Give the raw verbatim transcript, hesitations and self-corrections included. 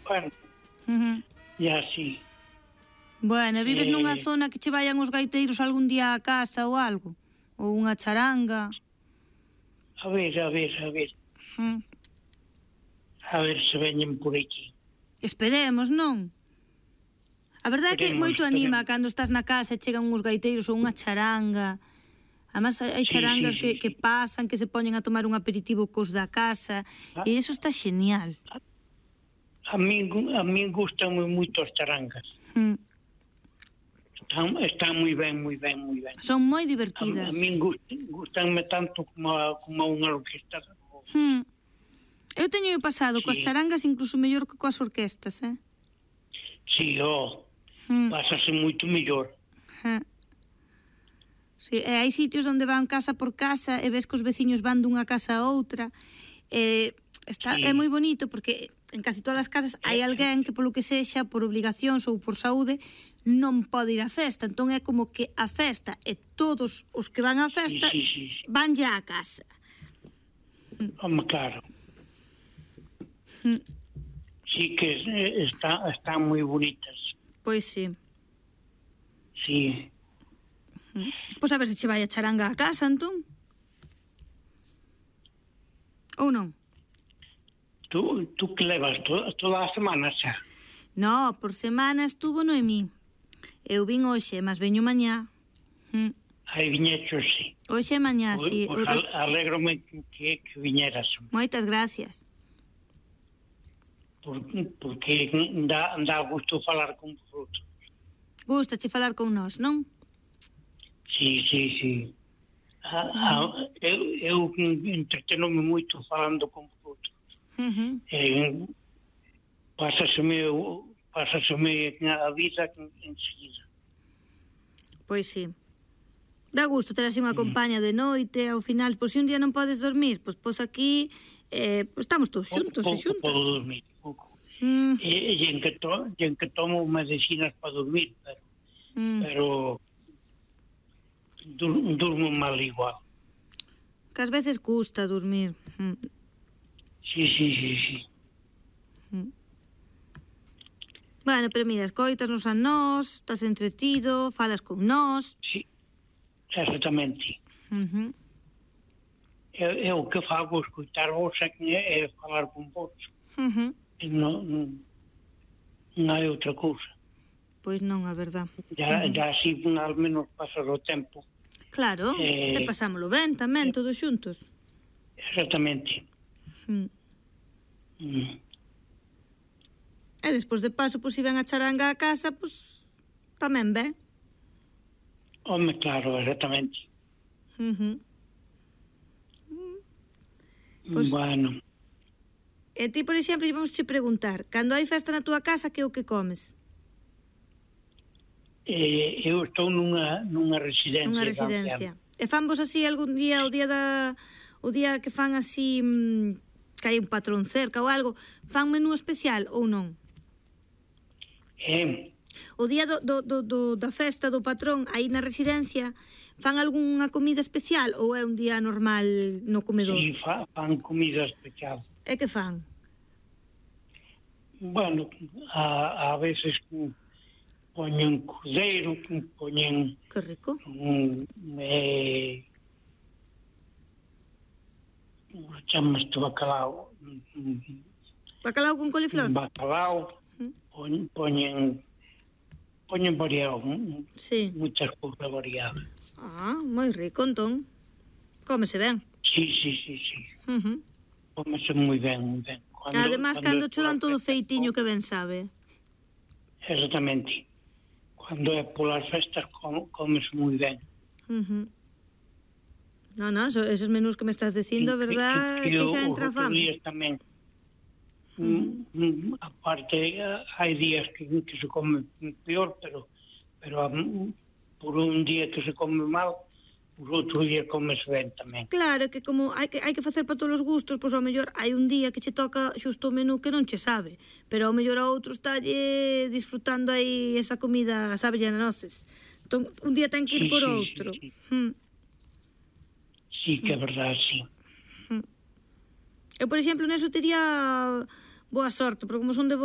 bueno, Uh-huh. e así. Bueno, vives Eh, nunha zona que che vayan os gaiteiros algún día a casa ou algo? Ou unha charanga? A ver, a ver, a ver, Uh-huh. a ver se veñen por aquí. Esperemos, non? A verdade é que Esperemos, moito anima esperemos. cando estás na casa e chegan uns gaiteiros ou unha charanga. Además, hai Sí, charangas sí, sí, que, sí. que pasan, que se poñen a tomar un aperitivo cos da casa, Ah. e iso está xenial. A mí, a mí gustan moito as charangas. Mm. Están, están moi ben, moi ben, moi ben. Son moi A, divertidas. a mí gustan, gustanme tanto como a, como a unha orquesta. Mm. Eu teño pasado Sí. coas charangas incluso mellor que coas orquestas, eh? Sí, oh, Mm. pásase moito mellor. Ja. Sí, e hai sitios onde van casa por casa e ves que os veciños van dunha casa a outra. Eh, está, Sí. É moi bonito porque en casi todas as casas hai alguén que polo que sexa, por obligacións ou por saúde, non pode ir á festa. Entón é como que a festa e todos os que van á festa Sí, sí, sí, sí. van ya á casa. Home, claro. Mm. Sí que eh, está, están moi bonitas. Pois sí. Sí. Pois a ver se che vai a charanga a casa, entón. Ou non? Tú, tú que levas toda, toda a semana xa? No, por semana estuvo Noemí. Eu vin hoxe, mas veño mañá. Mm. Aí viñecho, sí. Hoxe e mañá, Pois, sí. pois Eu res- al- alégrome que, que viñeras. Moitas gracias. Porque, porque dá, dá gusto falar con vosotros. Gústache falar con nós, non? Sí, sí, sí. A, a, eu, eu entretenome moito falando con vosotros. Uh-huh. Eh, pásaseme, o- pásaseme a vida enseguida. Pois sí. Dá gusto ter así unha compañía de noite, ao final, pois se un día non podes dormir, pois pois aquí eh, pois estamos todos xuntos e Pouco xuntas. podo dormir, pouco. Mm, E, e, en que to, e en que tomo medicinas para dormir, pero, mm. pero dur, durmo mal igual. Que ás veces custa dormir. Mm. Sí, sí, sí, sí. Bueno, pero mira, escoitasnos a nós, estás entretido, falas con nós. Sí, exactamente. Uh-huh. Eu, eu o que fago escoitar vos é, que é falar con vos. Uh-huh. Non, non, non hai outra cousa. Pois non, a verdad. Ya, Uh-huh. ya así al menos pasar o tempo. Claro, Eh, e pasámolo ben tamén, todos xuntos. Exactamente. Mm. Mm. E despois de paso, pois, se ven a charanga a casa, pois, tamén ben. Home, claro, exactamente. Uh-huh. Pois- Bueno, E ti, por exemplo, vamos che preguntar, cando hai festa na túa casa, que é o que comes? eh, eu estou nunha, nunha residencia. Nunha de residencia. ancianos. E fan vos así algún día, o día da o día que fan así mmm, que hai un patrón cerca ou algo, fan menú especial ou non? Eh, O día do, do, do, do, da festa do patrón aí na residencia, fan algunha comida especial ou é un día normal no comedor? si fa, fan comida especial. E que fan? Bueno, a, a veces mm, poñen cordeiro, poñen Que rico. un eh, chamas de bacalao, mm, Bacalao con coliflor? bacalao, Mm. poñen poñen, poñen variado, mm, Sí. muchas cousas variadas. Ah, moi rico, entón. Cómese ben. Sí, sí, sí, sí. Uh-huh. Comese moi ben, moi ben. Cuando, Además, cando cho dan todo é pola festa, feitiño que ben sabe. Exactamente. Cando é polas festas, com, comes moi ben. Uh-huh. No, no, eso, esos menús que me estás dicindo, a verdad, que, que, que xa entra a os outros fame. días tamén. Mm, mm, aparte, eh, hai días que, que se come peor, pero pero mm, por un día que se come mal, os outros días comes ben tamén. Claro, que como hai que, hai que facer para todos os gustos, pois ao mellor hai un día que che toca xusto o menú que non che sabe, pero ao mellor a outro estalle disfrutando aí esa comida, sabe, a noces. Entón, un día ten que ir Sí, por sí, outro. sí, sí. Hmm. Sí, que é verdade, sí. Eu, por exemplo, neso tería boa sorte, porque como son de